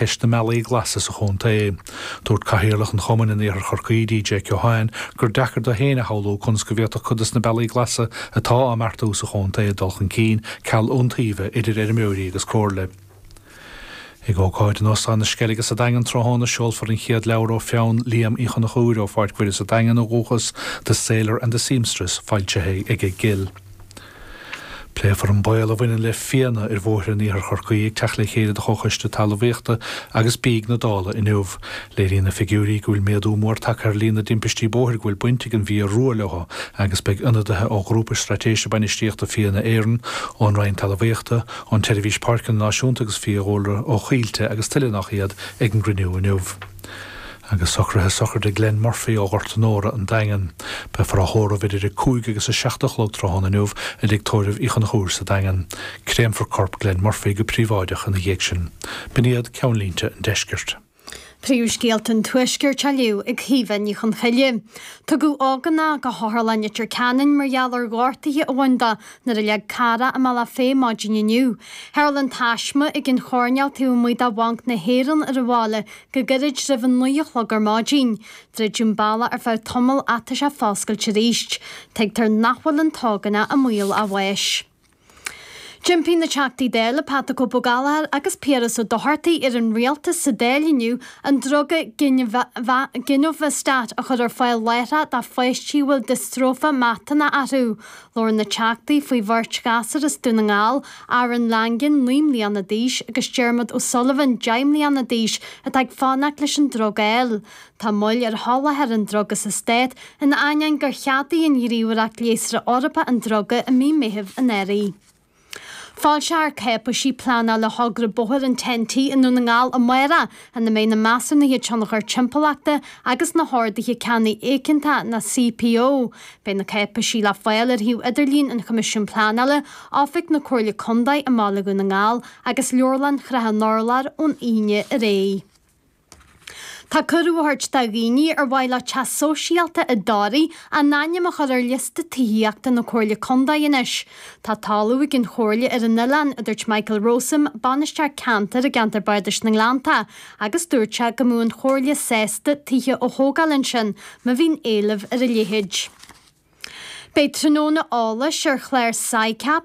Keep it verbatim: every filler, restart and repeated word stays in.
ceist na mbealaí glasa sa chontae. Dúirt cathaoirleach an chumainn in iarthar Chorcaí D J Keohane gur deacair dó féin a shamhlú conas go bhféadfadh cuid de na bealaí glasa atá á mbeartú sa chontae dul chun cinn ceal iontaoibhe idir fheirmeoirí agus comhairle. Ag ócáid in Óstán na Sceilge sa Daingean tráthnóna seolfar an chéad leabhar ó pheann Liam Uí Chonchúir ó Pháirc Mhuire sa Daingean ó dhúchas The Sailor and the Seamstress foilsithe ag Gill. Pléifear an baol a bhaineann le fianna ar bhóithre in iarthar Chorcaí ag teacht le chéile de Chomhchoiste Talmhaíochta agus Bídh na Dála inniu. Léiríonn na figiúirí go bhfuil méadú mór tagtha ar líon na dtimpistí bóthair go bhfuil baint ag an bhfia rua leo agus beidh ionadaithe ó Ghrúpa Straitéise Bainistíochta Fianna Éireann ón Roinn Talmhaíochta, ón tSeirbhís Páirceanna Náisiúnta agus Fiadhúlra ó Choillte agus tuilleadh nach iad ag an gcruinniú inniu. agus socruithe sochraide Glenn Murphy ó Ghort an Óra an Daingean. Beifear á thórramh idir a cúig agus a seacht a chlog tráthnóna inniu i dtigh tórraimh Uí Chonchúir sa Daingean. Créamfar corp Glenn Murphy go príobháideach ina dhiaidh sin. B'in iad ceannlínte an deiscirt. Príomhscéalta an tuaiscirt á léamh ag Caoimhe Ní Chonchoille. Tugadh ógánach go hOtharlann Leitir Ceanainn mar gheall ar ghortuithe a bhain dó nuair a leag carr é i mBealach Féich maidin inniu. Tharla an taisme ag an choirnéal taobh amuigh de Bhanc na hÉireann ar an bhaile go gairid roimh a naoi a chlog ar maidin. Druideadh an bealach ar feadh tamaill ach tá sé foscailte arís. Tuigtear nach bhfuil an t-ógánach i mbaol a bháis. D'impigh na Teachtaí Dála Pat the Cope Ó Gallchóir agus Piaras Ó Dochartaigh ar an rialtas sa Dáil inniu an druga Ginovastat a chur ar fáil láithreach do pháistí a bhfuil diostróife miotónach orthu. Labhair na Teachtaí faoi bheirt ghasúr as Dún na nGall, Aaron Langan naoi mbliana d'aois agus Dermot O'Sullivan deich mbliana d'aois atá ag fanacht leis an druga a fháil. Tá moill ar sholáthar an druga sa stát in ainneoin gur cheadaigh an Ghníomhaireacht Leigheasra Eorpach an druga i mí Meithimh anuraidh. Foilseofar cáipéisí pleanála thogra bóthair an Ten T i nDún na nGall amárach ina mbeidh na measúnuithe tionchar timpeallachta agus na horduithe ceannaigh éigeantacha na C P O. Beidh na cáipéisí le fáil ar shuíomh idirlín an Choimisiúin Pleanála, Oifig na Comhairle Contae i mBaile Dhún na nGall agus Leabharlann Shrath an Urláir ón Aoine ar aghaidh. Tá cuireadh á thabhairt do dhaoine ar mhaith leo teach sóisialta i dToraigh a n-ainm a chur ar liosta tithíochta na Comhairle Contae anois. Tá talamh ag an Chomhairle ar an oileán a dúirt Michael Rowsome, bainisteoir ceantair i gceantar Bardais na nGleannta, agus dúirt sé go mbeadh an Chomhairle sásta tithe a thógáil ansin má bhíonn éileamh ar a leithéid. Beidh tráthnóna eolais ar chlár SICAP